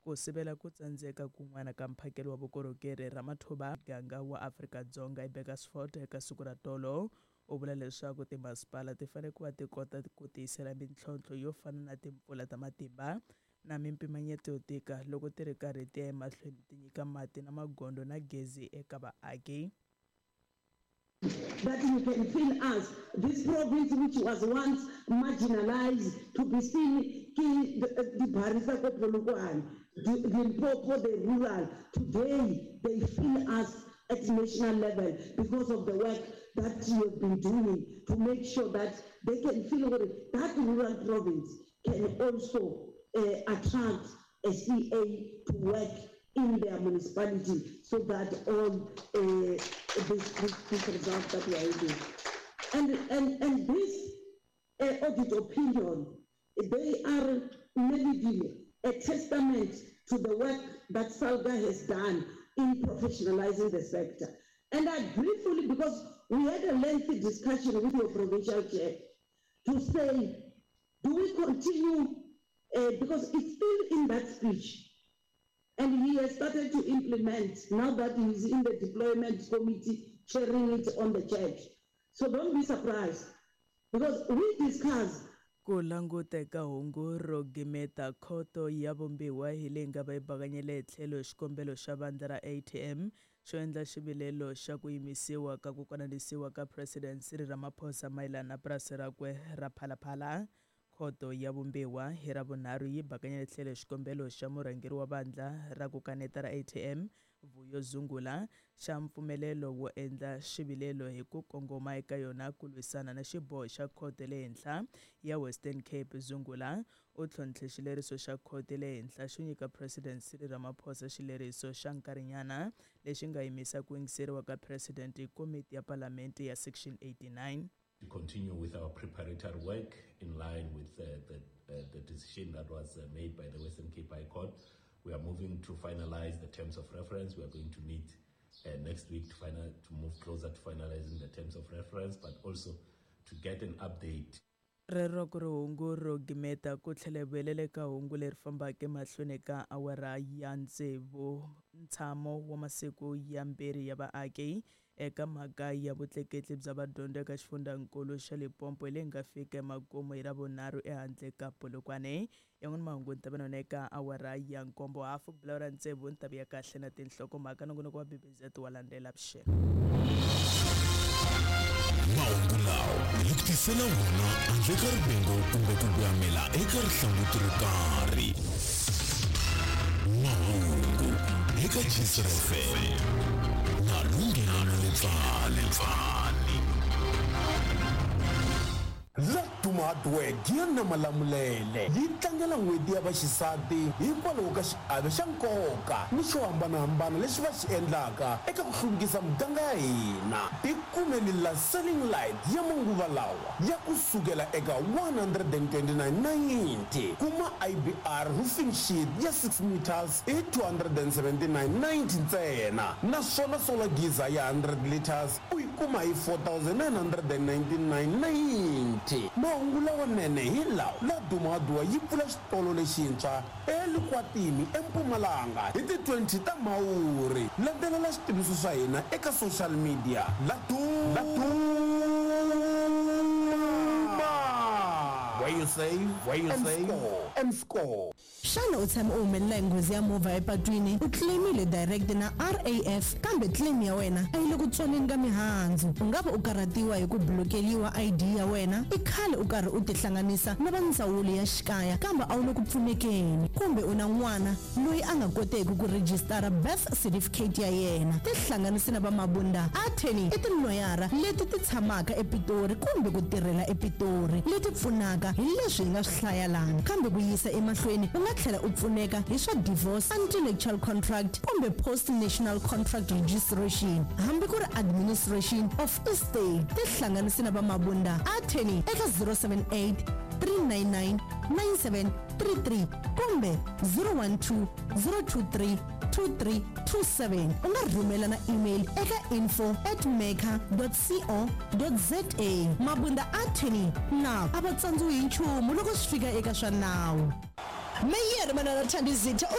Ku sivela ku tsandzeka kun'wana ka mphakelo wa vukorhokeri, Ramathuba muganga wa Afrika-Dzonga eBurgersfort eka siku ra tolo u vula leswaku timasipala ti fanele ku va ti kota ku tiyisela mintlhontlho yo fana na timpfula ta matimba na mimpimanyeto yo tika loko ti ri karhi ti ya emahlweni ti nyika mati na magondzo na gezi eka vaaki. That you can feel us, this province which was once marginalised to be seen ke dibari tsa ko Polokwane, Limpopo, the rural, today they feel us at national level because of the work that you have been doing to make sure that they can feel gore that rural province can also attract a CA to work in their municipality so that all this, this, this result that we are having. And, and, and this audit opinion, they are maybe a testament to the work that SALGA has done in professionalizing the sector. And I agree fully because we had a lengthy discussion with your provincial chair to say, do we continue, because it's still in that speech, and he has started to implement now that he is in the deployment committee, chairing it on the church. So don't be surprised, because we discussed Ku languta eka hungu ro gimeta, Khoto ya Vumbiwa hi leyi nga va yi bakanyele etlhelo xikombelo xa vandla ra ATM xo endla xivilelo xa ku yimisiwa ka ku konanisiwa ka President Cyril Ramaphosa mayelana na purasi rakwe ra Phala Phala. Khoto ya Vumbiwa hi Ravunharhu yi bakanyele tlhelo xikombelo xa murhangeri wa vandla ra ku kaneta ra ATM, Vuyo Zungula, xa mpfumelelo wo endla xivilelo hi ku kongoma eka yona ku lwisana na xiboho xa Khoto ya le Henhla ya Western Cape. Zungula u tlhontlhe xileriso xa Khoto ya le Henhla xo nyika President Cyril Ramaphosa xileriso xa nkarhinyana lexi nga yimisa ku yingiseriwa ka President hi Komiti ya Palamente ya Section 89. To continue with our preparatory work in line with the, the decision that was made by the Western Cape High Court. We are moving to finalize the terms of reference. We are going to meet next week to, final, to move closer to finalizing the terms of reference, but also to get an update. Rero ku ri hungu ro gimeta ku tlhela hi vuyelela eka hungu leri fambaka emahlweni ka awara ya tsevu. Ntshamo wa masiku yambirhi ya vaaki eka mhaka ya vutleketli bya vadyondzi eka xifundzankulu xa Limpopo leyi nga fika emakumu hi Ravunharhu ehandle ka Polokwane. Yan'wana mahungu ni ta va na eka awara ya nkombo hafu ku bula tsevu ni ta vuya kahle na tinhlokomhaka. Nongonoko wa BBZ wa landzela vuxeni. Mahungu lawa hi ku tisela wona handle ka rivengo kumbe ku voyamela eka rihlanguti ro karhi. Mahungu eka Gcina FM na Lunghelo Letsane. Laduma Hardware ya na Malamulele yi tlangela N'hweti ya Vaxisati hikwalaho ka xiave xa nkoka ni xo hambanahambana lexi va xi endlaka eka ku hluvukisa muganga ya hina. Tikumeli la ceiling light ya manguva lawa ya ku sukela eka 129.90. Kuma IBR roofing sheet ya 6 meters hi 279.90 ntsena, naswona solar geyser ya 100 liters u yi kuma hi 4999.90. Mahungu lawanene hi lawa: Laduma Hardware yi pfula xitolo lexintshwa eLikwatini eMpumalanga hi ti 20 ta Mhawuri. Landzelela xitiviso swa hina eka social media. Laduma, where you save, where you and save score, and score. Xana u tshame u humelela hi nghozi ya movha epatwini, u claimile direct na RAF, kambe claim ya wena a yi le ku tswaleni ka mihandzu? U nga va u karhatiwa hi ku blokeliwa ID ya wena? I khale u karhi u tihlanganisa na va ndzawulo ya xikaya kambe a wu le ku pfunekeni? Kumbe u na n'wana loyi a nga koteki ku rejistara birth certificate ya yena? Tihlanganisi na va Mabunda Attorney. I tiloyara leti ti tshamaka ePitori kumbe ku tirhela ePitori leti pfunaka hi leswi hi nga swi hlaya lana, kambe ku yisa emahlweni u nga tlhela u pfuneka hi swa divorce, anti-nuptial contract kumbe post nuptial contract registration, hambi ku ri administration of estate. Tihlanganisi na va Mabunda Attorney eka 078 399 9733 kumbe 012 023 2327. U nga rhumela na email eka info@maker.co.za. Mabunda Attorney na a va tsandziwi hi nchumu loko swi fika eka swa nawu. Meyere Manana Thandizitha u.